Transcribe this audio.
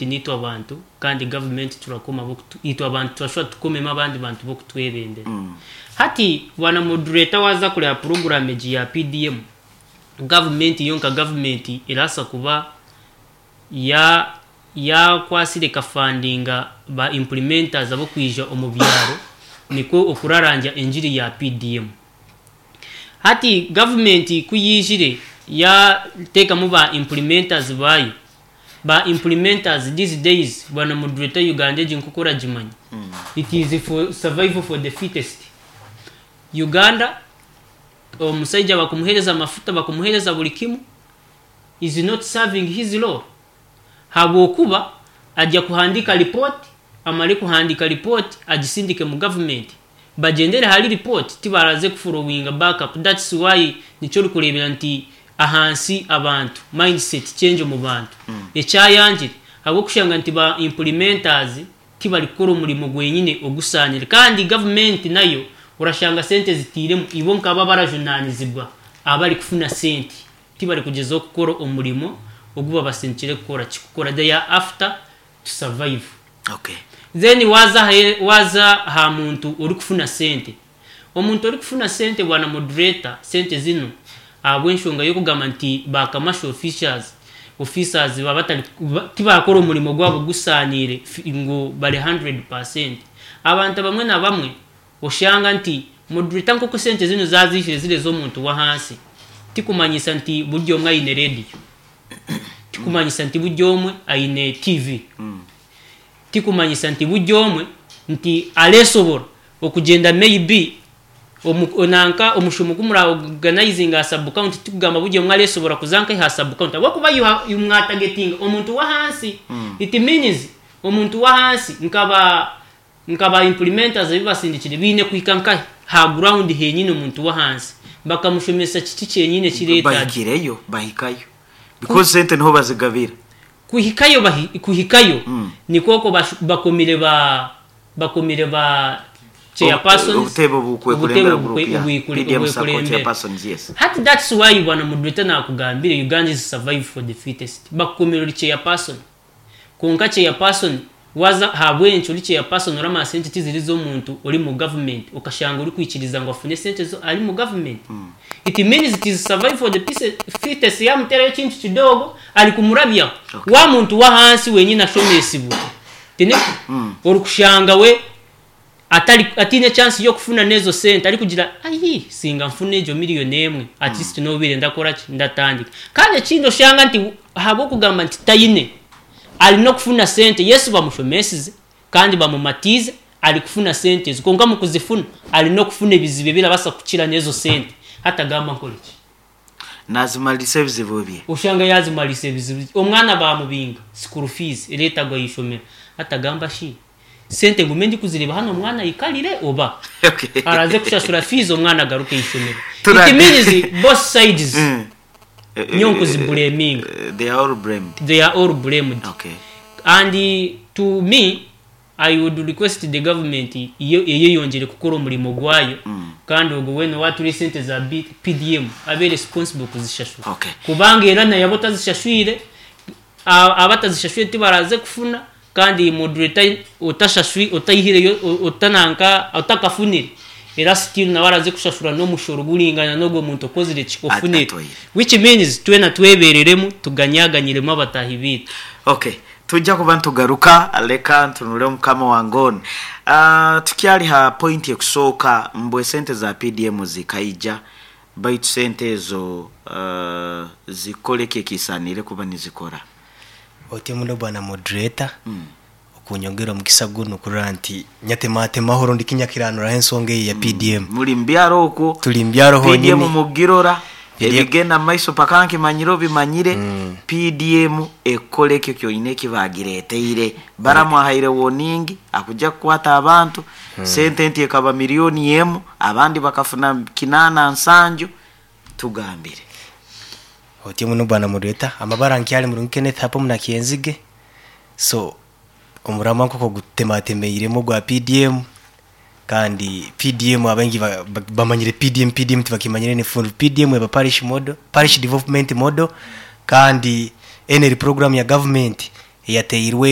Niitwe abantu kandi gavumenti turakoma ab'okutu itwe abantu turashuba tukomemu abandi bantu b'okutwebembera. Hati bwana moderator waaza kureeba puroguraamu egi ya PDM, gavumenti yo nka gavumenti erabaasa kuba ya yaakwatsire ekafandinga ba implementers ab'okwija omu byaro nikwo okurarangya engiri ya PDM. Hati gavumenti ku yaijire yaateekamu ba implementers baayo, Ba implementers these days bwana moderator Uganda egi nkoku oragimanya it is for survival for the fittest. Uganda omusaija bakumuhereza amafuta bakumuhereza buri kimu is not serving his role habwokuba ajya kuhandika report amare kuhandika report agisindike mu government bagyendere ahari report tibaraze ku followinga back up that's why nikyo orikurebera nti ahansi abantu mindset change omu bantu ekyayangire ahabw'okushanga nti ba implementers tibari kukora omurimo gwenyine ogusaanire kandi government nayo orashanga sente eziteiremu ibo nkabo abarajunanizibwa abari kufuna sente tibari kugyezaho kukora omurimo ogu babasindikire kukora kikukora they are after to survive. Okay. Then waaza ahe waaza aha muntu orikufuna sente. Omuntu orikufuna sente bwana moderator, sente zinu ahabw'enshonga y'okugamba nti ba commercial officials, officers baba batari tibakora omurimo gwabo gusaaniire ngu bari 100%. Abantu abamwe na bamwe oshanga nti moderator nk'oku sente zinu zaaziijire ziri ez'omuntu w'ahansi, tikumanyisa nti buri omwe aine radio. Tikumanyisa nti buri omwe aine TV. Tikumanyisa nti buri omwe nti areesobora okugyenda maybe omu nanka omushomo ogu mura organizinga aha sub county tikugamba buri omwe areesobora kuza nka aha sub county ahabw'okuba you have mwatargetinga omuntu w'ahansi it means omuntu w'ahansi nka ba Nka ba implementers ebi basindikire biine kuhika nkahi? Ha ground henyini omuntu w'ahansi bakamushomesa kiki kyenyini ekireetagye. Bahikireyo bahikayo because sente niho bazigabira. Kuhikayo kuhikayo nikwo okwo bakomire ba bakomire ba chairpersons Obutebe obutebe obukwekurembera group ya PDM Sacco obwekurembera. chairpersons yes. Hati that's why bwana moderator nakugambire Uganda is survive for the fittest bakukomire ori chairperson. Kwonka chairperson waza ahabwenki ori chairperson oramanya sente tiziri z'omuntu ori mu government okashanga orikwikiriza ngu afune sente zo ari mu government? It means it is survive for the fittest yamuterayo ekintu kidogo ari kumurabyaho. Okay. Wa muntu w'ahansi wenyini ashomesibwe tiniko? Orikushanga we Atari, ataine chance y'okufuna n'ezo sente arikugira ayi singa nfuna egyo million emwe at least nobaire ndakora ki ndatandika. Kandi ekindi oshanga nti ahabw'okugamba nti taine ari n'okufuna sente yes bamushomesize kandi bamumatiize ari kufuna sente ezo kwonka mukuzifuna ari n'okufuna ebizibu ebirabaasa kukira n'ezo sente hati agamba nkore ki? Nazimarisa ebizibu bye. Oshanga yazimarisa ebizibu bye omwana bamubinga school fees eretagwa ah'ishomero hati agamba shi Sente ngume ndikuzireeba hanu omwana aikarire oba araze kushashura fees omwana agaruke aishomero. It means both sides nyowe nkuzibureminga. They are all blamed. They are all blamed. Okay. And to me I would request the government yo eyeyongyere kukora omurimo gwayo kandi ogwo weena owatura esente za PDM abe responsible kuzishashura. Okay. Kubanga era naye aba otazishashwire abatazishashwire tibaraze kufuna Kandi moderator otashashwi otaihireyo otananka otakafunire era still nawe araze kushashura n'omushoro guringana n'ogwo muntu okozire ki ofunire Atoire. which means twena twebereremu tuganyaganyiremu abatahi baitu. Ok tujja kuba nitugaruka leka ntunure mukama wange onu. Ah, tukyali ha point ekusooka mbu esente za PDM zikaija baitu sente ezo ah, zikore ki ekisaaniire kuba nizikora? Otyo muno bwana moderator okunyongera omukisa gunu kurora nti nyatematemaho rundi kinyakiranuraho ensonga eyi eya PDM. Muri mubyaro okwo. Turi mubyaro PDM honyini. mugirora PDM. ebigenda mumaiso paka nkimanyire obimanyire PDM ekora ekyo kyoine ekibagireteire. Balamu ahaire warning akuja kukwata abantu, sente nti ekaba million emu abandi bakafuna kinana nsanju, tugambire. Otyo muno bwana moderator, amabara nkyali murungi Kenneth Hapo Munakyenzige, so omuramwa nk'oku ogutematemeiremu ogwa PDM kandi PDM abaingi bamanyire PDM, PDM tibakimanyire ni full PDM eba parish model, parish development model kandi enu eri program ya government eyateirwe.